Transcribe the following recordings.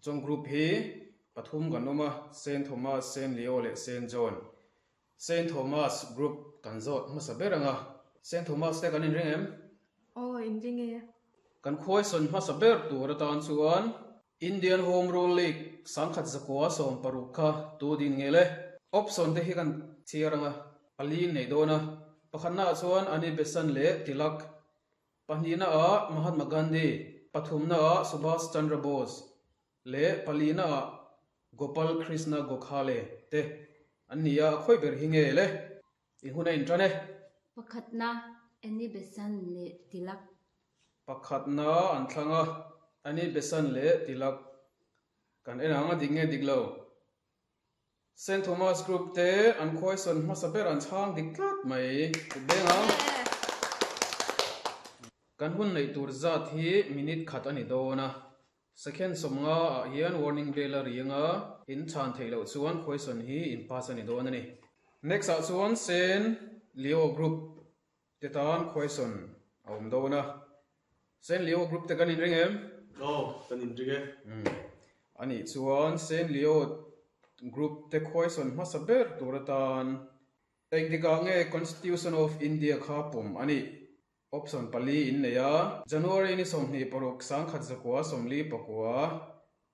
Chung group hi pathum kan awm a, Saint Thomas, Saint Leo leh Saint John. Saint Thomas group kan zawt hmasa ber ang a. Saint Thomas te kan inring em? Aw, inring e. Kan khuaisawn hmasa ber tur atan chuan Indian Home Rule League sangkhat zakua 60 kha tu din ngel e? Option te hi kan chhiar ang a, pali in nei dawn a. Pakhatna ah chuan Annie Besant leh Tilak, pahnihna ah Mahatma Gandhi, pathumna ah Subhas Chandra Bose leh palina ah Gopal Krishna Gokhale te an ni a, a khawi ber hi nge le? I hun a intan e. Pakhatna, Annie Besant leh Tilak. Pakhatna an thlang a, Annie Besant leh Tilak. Kan en ang a dik nge dik lo. Saint Thomas Group te an khuaisawn hmasa ber an chhang dik tlat mai. Kut beng ang. Kan hun neih tur zat hi minute khat a ni dawn a. Second 50 ah hian warning bell a ri anga, in chhan theih loh chuan question hi in pass a ni dawn a ni. Next ah chuan Saint Leo group te tan question a awm dawn a. Saint Leo group te kan inring em? Aw, kan inring e. Umm. Anih chuan Saint Leo group te question hmasa ber tur atan engtikah nge Constitution of India kha pawm a nih? Option pali in nei a, January ni 26 1949,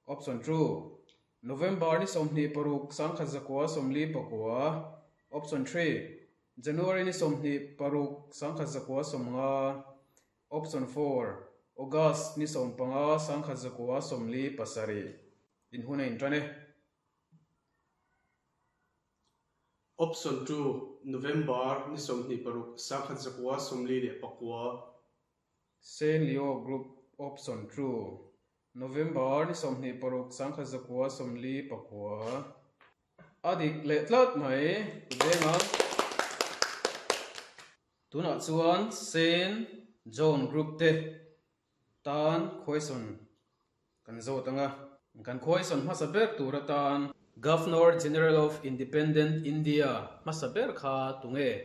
Option 2, November ni 26 1949, Option 3, January ni 26 1950, Option 4, August ni 15 1947. In hun a intan e. Option 2, November ni 26 1949. Saint Leo Group Option 2, November ni 26 1949. A dik leh tlat mai veng a. Tunah chuan Saint John Group te tan question kan zawt ang a. Kan question hmasa ber tur atan Governor General of Independent India hmasa ber kha tunge?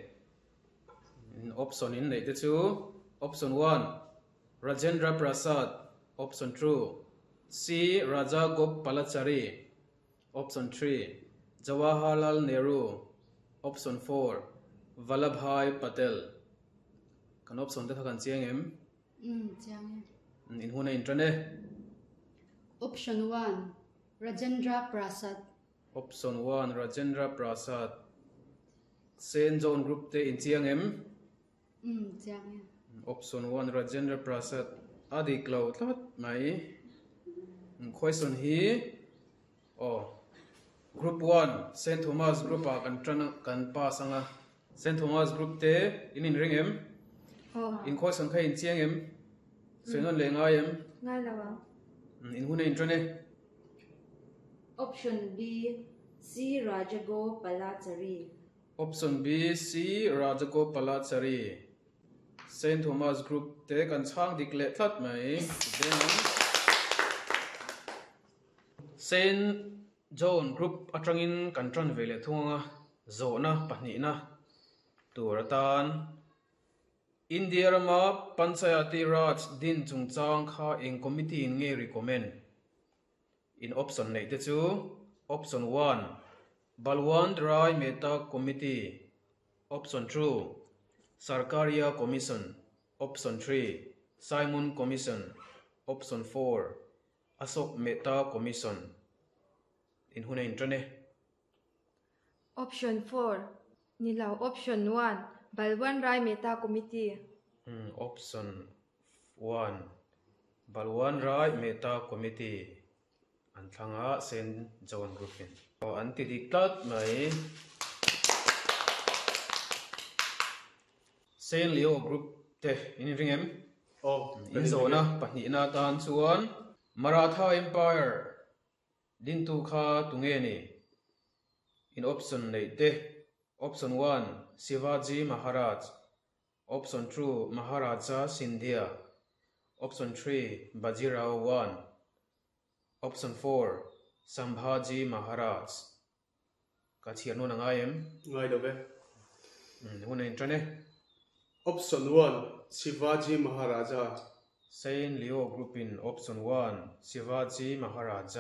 Option in neih te chu Option 1, Rajendra Prasad, Option 2, C Rajagopalachari, Option 3, Jawaharlal Nehru, Option 4, Vallabhbhai Patel. Kan option te kha kan chiang em? Umm, chiang e. In hun a intan e. Option 1, Rajendra Prasad. Option 1, Rajendra Prasad. Saint John Group te in chiang em? Umm, chiang e. Option 1, Rajendra Prasad. A dik lo tlat mai. Question hi aw Group 1, Saint Thomas Group ah kan tan kan pass anga. Saint Thomas Group te in inring em? Aw. In question kha in chiang em? Sawi nawn leh ngai em? Ngai lo ang. In hun a intan e. Option B, C Rajagopalachari. Option B, C Rajagopalachari. Saint Thomas Group te kan chhang dik leh tlat mai. Saint John Group atangin kan tan ve leh thung anga zawhna pahnihna tur atan India rama Panchayati Raj din chungchang kha eng committee in nge recommend? In option neih te chu Option 1, Balwant Rai Mehta Committee, Option 2, Sarkaria Commission, Option 3, Simon Commission, Option 4, Ashok Mehta Commission. In hun a intan e. Option 4, ni lo Option 1, Balwant Rai Mehta Committee. Option 1, Balwant Rai Mehta Committee an thlang a, Saint John Group in. Aw, an ti dik tlat mai. Saint Leo Group te in inring em? Aw, In zawhna pahnihna atan chuan Maratha Empire dintu kha tunge ni? In option neih te, Option 1, Shivaji Maharaj, Option 2, Maharaja Scindia, Option 3, Bajirao 1, Option 4, Sambhaji Maharaj. Ka chhiar nawn a ngai em? Ngai lo ve. Hun a intan e. Option 1, Shivaji Maharaja. Saint Leo Group in Option 1, Shivaji Maharaja.